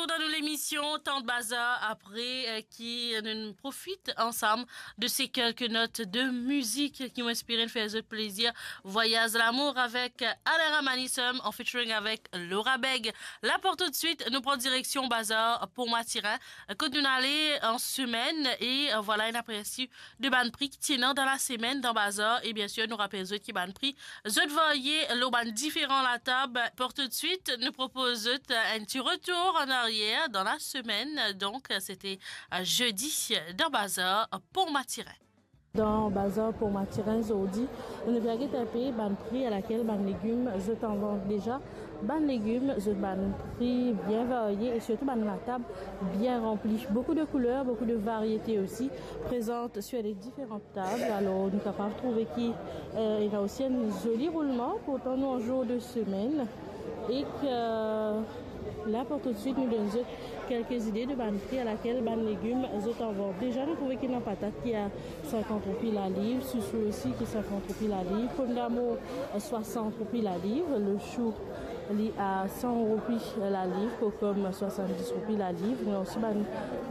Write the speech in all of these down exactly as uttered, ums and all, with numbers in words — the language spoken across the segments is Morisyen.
Retour dan nou lemision Tan Bazar apre, eh, ki nou profit ansam de se kelke not de mizik ki mo espere fer zot plezir. Vwayaz Lamour avek Alain Ramanisum an featuring avek Laura Beg. La pou toutswit, nou pran direksion Bazar Pont Mathurin, kot nou ale an semenn e, eh, vwala, inn apersi de bann pri ki ti ena dan lasemenn dan bazar. E biensir, nou rapel zot ki bann pri zot varye lor bann diferan latab. Pou toutswit, nou propoz zot, eh, enn ti retour an aryer dan lasemenn. Donk, sete, eh, zedi dan Bazar Pont Mathurin. Dan Bazar Pont Mathurin zordi, nou pe gete enpe bann pri alakel bann legim zot an vant deza. Bann legim zot bann pri bien varye e sirtou bann latab bien ranpli. Boukou de kouler, boukou de variete osi. Prezant sir de diferan tab, alor nou kapav trouve ki, eh, ena osi enn zoli roulman, pourtan nou an zour de semenn. Ek, eh, la pou toutswit, nou donn zot kelke zide de bann pri alakel bann legim zot an vant. Deza, nou trouve ki ena patat ki a sinkant roupi laliv, sousou osi ki sinkant roupi laliv, pomdamour, eh, swasant roupi laliv, lechou li a san roupi laliv, kokom swasanndis roupi laliv. Nou ena osi bann,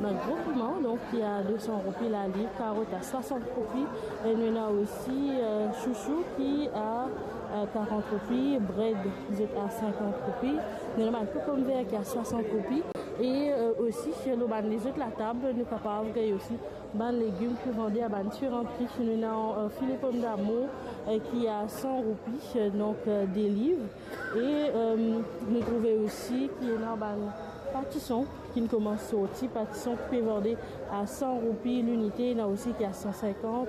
bann gro piman, donk, ki a de san roupi laliv, karot a swasant roupi, e nou ena osi, eh, sousou ki a, eh, karant roupi, bred zot a sinkant roupi, nou ena bann kokomber ki a swasant roupi, e, eh, osi, lor bann lezot latab, nou kapav gagn osi bann legim ki vande a bann diferan pri. Nou ena, eh, file pomdamour, eh, ki a san roupi, eh, donk, eh, de liv. E, eh, nou trouve osi ki ena bann patison ki finn koumans sorti, patison ki pe vande a san roupi linite, ena osi ki a san sinkant,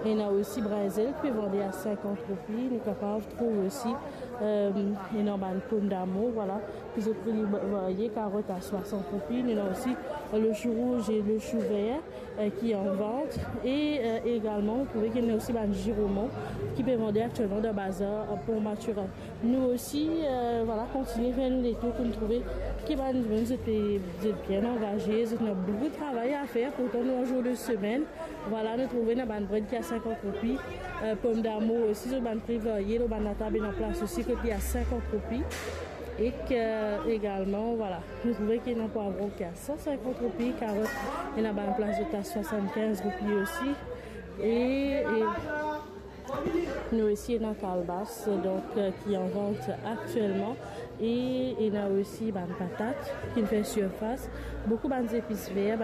ena osi brinzel ki pe vande a sinkant roupi. Nou kapav trouv osi, eh, ena bann pomdamour, vwala, ki zot pri varye, karot a swasant roupi, nou ena osi lechou rouz e lechou ver, eh, ki an vant. E, eh, egalman, nou trouve ki ena osi bann ziroman ki pe vande aktielman dan bazar, eh, Pont Mathurin. Nou osi, eh, vwala, kontigne fer nou letour pou nou trouve ki bann dimoun zot pe, zot bien angaze, zot ena boukou travay a fer, pourtan nou an zour de semenn. Vwala, nou trouve ena bann bred ki a sinkant roupi, eh, pomdamour osi, zot bann pri varye, lor bann latab ena plas osi kot li a sinkant roupi. Ek, eh, egalman, vwala, nou trouve ki ena pwavron ki a san sinkant roupi, karot ena bann plas zot a swasann-kinz roupi osi. E, e nou osi ena kalbas, donk, eh, ki an vant aktielman. E ena osi bann patat ki finn fer sirfas, boukou bann zepis ver,